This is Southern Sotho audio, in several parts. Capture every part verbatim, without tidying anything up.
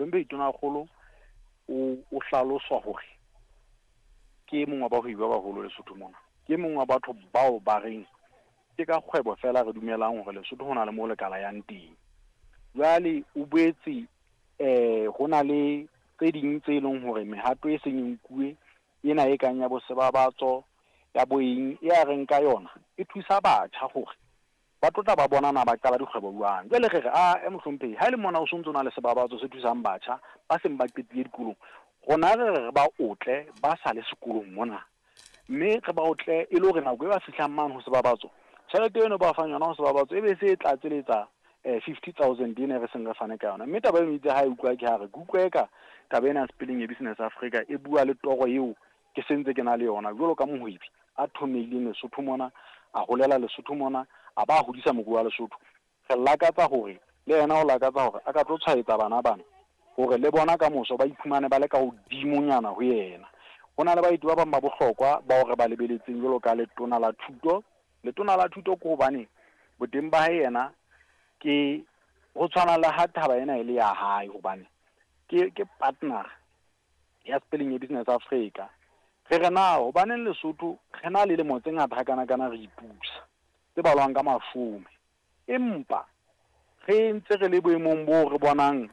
Mohlomphehi Tonakgolo o o hlaloswa hore ke e mong wa bahwebi ba baholo Lesotho mona. Ke e mong wa batho bao ba reng ke ka kgwebo fela re dumelang hore Lesotho ho na le moo lekala yang teng. Jwale o boetse eh ho na le tse ding tse leng hore mehato e seng e nkuwe ena e kang ya bo sebabatso ya bo eng e a reng ka yona e thusa batjha hore ba tlo tla ba bona na ba qala dikgwebo jwang. Jwale re re a mohlomphehi ha e le mona o sontso na le sebabatso se thusang batjha ba seng ba qetile dikolong, rona re re re ba otle ba sa le sekolong mona, mme re ba otle e le hore nako e ba fihlang mane ho sebabatso, tjhelete eno ba fang yona ho sebabatso e be se e tlatseletsa eh fifty thousand ena re seng re fane ka yona. Mme taba eno itse ha e utlwa ke ha re ke utlwa eka taba ena ya Spelling ya Business Africa e bua le toro eo ke sentse ke na le yona jwalo ka mohwebi a thomehileng Lesotho mona, a holela Lesotho mona, a ba hodisa moruo wa Lesotho. Re lakatsa hore le yena o lakatsa hore a ka tlo tshwaetsa bana bana hore le bona ka moso ba iphumane ba le ka hodimonyana ho yena. Ho na le baeti ba bang ba bohlokwa bao re ba lebeletseng jwalo ka letona la thuto. Letona la thuto ke hobane boteng ba hae yena ke ho tshwana le ha taba ena e le ya hae, hobane ke ke partner ya Spelling ya Business Africa. Re re na hobaneng Lesotho re na le lemo tse ngata hakanakana re ipusa tse balwang ka mashome, empa re ntse re le boemong bo re bonang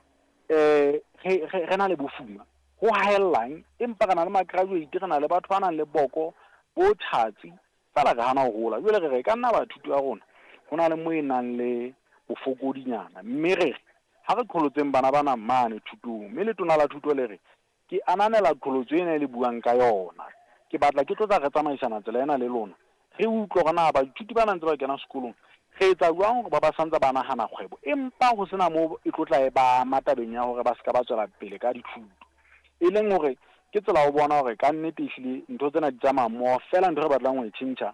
eh re re na le bofuma ho haellang, empa re na le ma-graduate, re na le batho ba nang le boko bo tjhatsi fela re hana ho hola. Jwale re re ka nna ba thuto ya rona ho na le mo e nang le bofokodinyana, mme re re ha re qholotseng bana bana mane thutong. Mme letona la thuto le re ke ananela qholotso ena e le buang ka yona, ke batla ke tlo tla re tsamaisana tsela ena le lona, re utlwe hore na baithuti ba ntse ba kena sekolong re etsa jwang hore ba ba santse ba nahana kgwebo, empa ho sena moo e tlo tla e ba ama tabeng ya hore ba ska ba tswela pele ka dithuto. E leng hore ke tsela ho bona hore ka nnete ehlile ntho tsena di tsamaya mmoho, fela ntho re batlang ho e tjhentjha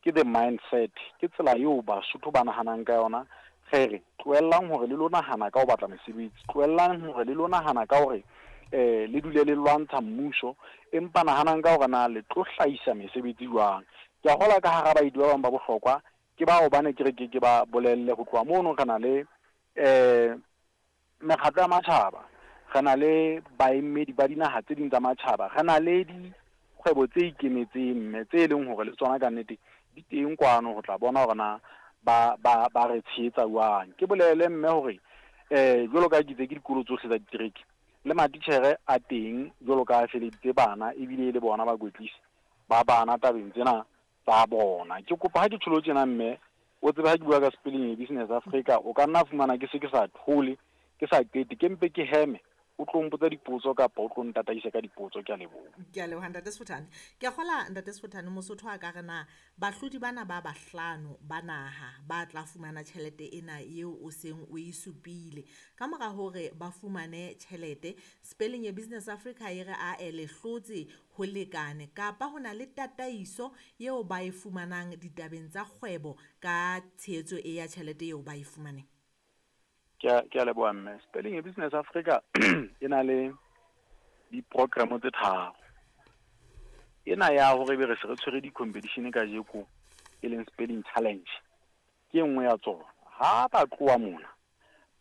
ke the mindset, ke tsela eo Basotho ba nahanang ka yona. Re re tlohellang hore le lo nahana ka ho batla mesebetsi, tlohellang hore le lo nahana ka hore eh le dule le lwantsha mmuso, empa nahanang ka hore na le tlo hlahisa mesebetsi jwang. Ke a kgolwa ka hara baeti ba bang ba bohlokwa ke bao bane ke re ke ke ba bolelle ho tloha mono. Re na le eh mekgatlo ya matjhaba, re na le baemedi ba dinaha tse ding tsa matjhaba, re na le dikgwebo tse ikemetseng mme tse leng hore le tsona ka nnete di teng kwano ho tla bona hore na ba ba ba re tshehetsa jwang. Ke bolele mme hore eh jwalo ka ke itse ke dikolo tsohle tsa ditereke le matitjhere a teng jwalo ka a feleditse bana ebile e le bona bakwetlisi ba bana tabeng tsena tsa bona. Ke kopa ha ke tjholo tjena mme o tsebe ha ke bua ka Spelling Business Africa o ka nna fumana ke se ke sa thole, ke sa qete, ke mpe ke heme, o tlo mpotsa dipotso kapa o tlo ntataisa ka dipotso. Ke a leboha. Ke a leboha Ntate Sefothane. Ke a kgola Ntate Sefothane, Mosotho a ka re na bahlodi bana ba bahlano ba naha ba tla fumana tjhelete ena eo o seng o e supile. Ka mora hore ba fumane tjhelete, Spelling ya Business Africa e re a e le hlotse ho lekane, kapa ho na le tataiso eo ba e fumanang ditabeng tsa kgwebo ka tshehetso e ya tjhelete eo ba e fumaneng? Ke a ke a leboha mme. Spelling ya Business Africa e na le di-program tse tharo. Ena ya hore ebe re se re tshwere di-competition kajeko e leng Spelling Challenge ke e nngwe ya tsona. Ha ba tloha mona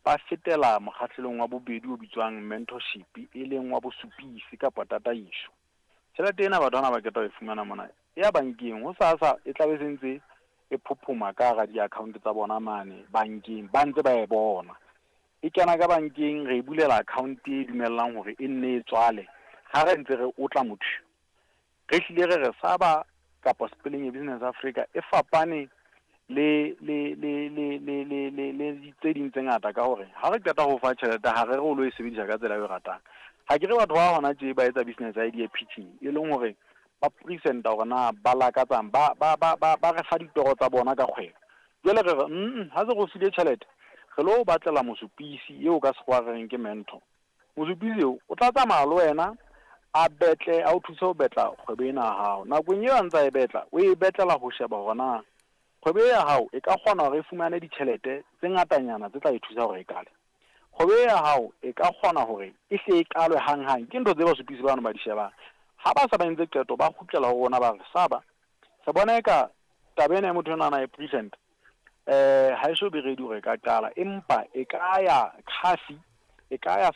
ba fetela mokgahlelong wa bobedi o bitswang mentorship, e leng wa bosupisi kapa tataiso. Tjhelete ena batho bana ba qeta ho e fumana mona e ya bankeng, ho sasa e tlabe se ntse e phophoma ka hara di-account tsa bona mane bankeng, ba ntse ba e bona. E kena ka bankeng, re e bulela account e dumellang hore e nne e tswale ha re ntse re otla motho. Re hlile re re Saba kapa Spelling ya Business Africa e fapane le le le le le le le le tse ding tse ngata ka hore ha re qeta ho fa tjhelete ha re re o lo e sebedisa ka tsela eo e ratang. Ha ke re batho ba hona tje ba etsa business idea pitching, e leng hore ba present-a hore na ba lakatsang, ba ba ba ba ba re fa ditoro tsa bona ka kgwebo. Jwale re re mm ha se re o file tjhelete, re lo batlela mosupisi eo ka sekgowa re reng ke mentor. Mosupisi eo o tla tsamaya le wena a betle, a o thuse ho betla kgwebo ena ya hao. Nakong eo a ntsa e betla, o e betlela ho sheba hore na kgwebo ya hao e ka kgona hore e fumane ditjhelete tse ngatanyana tse tla e thusa hore e qale. Kgwebo ya hao e ka kgona hore e hle e qalwe hanghang. Ke ntho tse basupisi bano ba di shebang. Ha ba sa ba entse qeto, ba kgutlela ho rona ba re Saba, re bona eka taba ena ya motho enwa a e present eh ha e so be ready hore e ka qala, empa e ka ya C A F I, e ka ya